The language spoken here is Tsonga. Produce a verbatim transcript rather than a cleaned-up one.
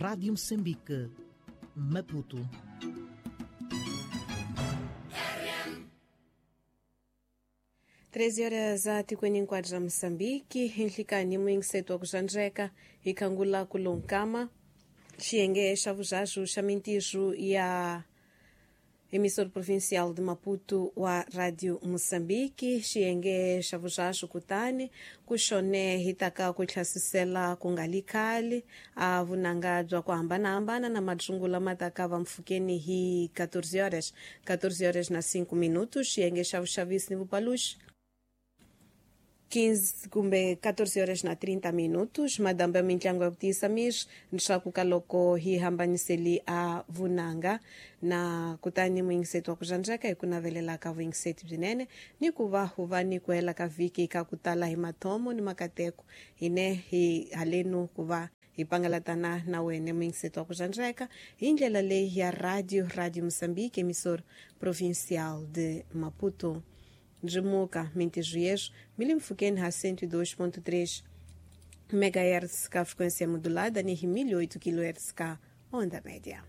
Rádio Moçambique, Maputo. treze horas a tikweni hinkwaro ra Moçambique, nhlikani muyingiseti wa ku xandzeka hi khangula ku lonkama xiyenge xa vuxaxu xa mintirho ya emissora provincial de Maputo wa Radio Moçambique, xiyenge xa vuxaxu kutani ku xone hi taka ku hlasisela ku nga li khale a vunanga bya ku hambanahambana na madyungula ma taka va mpfhukeni hi catorze horas catorze horas na cinco minutos xiyenge xa vuxavisi ni vupaluxi quinze kumbe catorze horas na trinta minutos madambo ya mintlangu ya ku tiyisa miri leswaku ka loko hi hambaniseli a vunanga na kutani muyingiseti wa ku xandzeka hi ku navelela ka vuyingiseti byinene ni ku va hu va ni ku hela ka vhiki ka ku tala hi mathomo ni makateko hine hi halenu ku va hi pangalatana na wena muyingiseti wa ku xandzeka hi ndlela leyi ya radio Radio Moçambique, emissora provincial de Maputo. Ndzimuka mintirho yeswo mi le mpfhukeni ha cento e dois ponto três megahertz ka frequência modulada ni hi mil e oito kilohertz ka onda média.